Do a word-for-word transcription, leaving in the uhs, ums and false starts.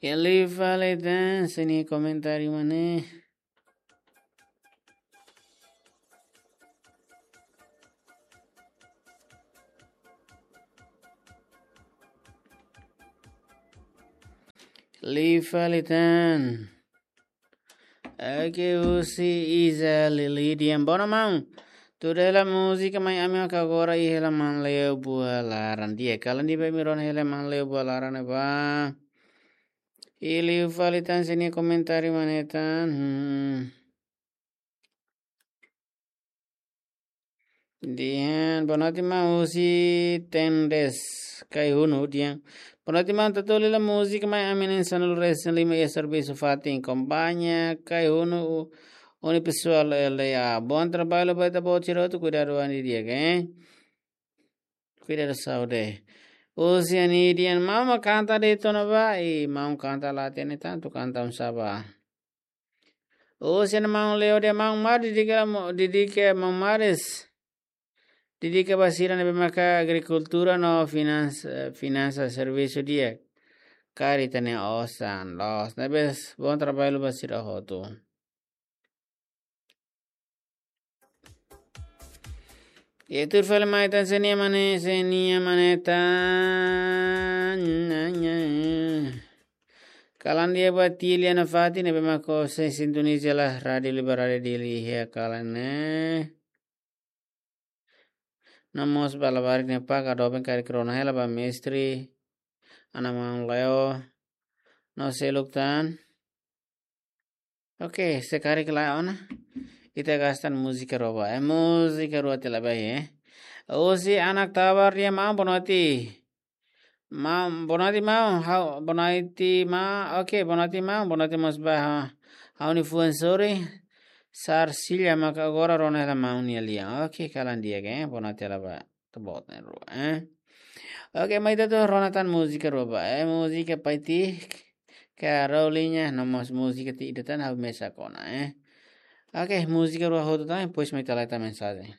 Liu fali tan, sei nia komentáriu mak ne'e. Liu fali tan. Oke, husi Iza Lili dehan: Bona maun, tuda hela múzika mai ami maka agora iha hela Maun Leo Buah Laran. Di'ak, kalan di'ak ba imi rona hela Maun Leo Buah Laran ne'ebá. I liu fali tan, sei nia komentáriu mak ne'e tan. Hmm. Dehan: Bonoite maun, husi Tendes Kaihunu dehan: Bonoite maun, tuda hela múzika mai ami na'in sanulu-resin-lima iha servisu fatin, kompañia Kaihunu u-, unipessoal L D A. Bom trabalho ba ita-boot sira hotu, kuidadu an didi'ak, eh? Kuidadu saúde. Husi Ani dehan: Maun mak kanta de'it ona ba, i maun kanta la hatene tantu, kanta oinsá ba. Husi Maun Leo dehan: Maun Mar, dedika mo-, dedika Maun Maris. Dedika ba sira ne'ebé maka agrikultura no finans-, finansa servisu di'ak. Karik ita-nia osan loos. Ne'ebé bom trabalho ba sira hotu. I tuir fali mai tan, sei nia mak ne'e, sei nia mak ne'e tan. Kalan di'ak ba Tilia Nafati ne'ebé maka sei sintoniza hela Rádiu Liberdade Dili iha kalan ne'e. No mós ba labarik ne'e, paka doben karik rona hela ba mestre, Ana Maun Leo, no seluk tan. Oke, se karik lae ona, ita gasta múzika rua ba, eh, múzika rua tiha lai ba, eh. Husi Anak Tabar dehan: Maun, bonoite. Maun, bonoite maun, ha'u, bonoite maun, oke, bonoite maun, bonoite mós ba, ha, ha'u-nia fuan sorin, Sarsilia, maka agora rona hela maun nia lian. Oke, kalan di'ak, eh, bonoite hela ba ita-boot na'in-rua, eh. Oke, mai ita atu rona tan múzika rua ba, eh, múzika Paiti Carolina, no mós múzika ida tan ha'u mesak ona, eh. Oke, múzika rua hotu tan, depois mai ita lai tan mensajen.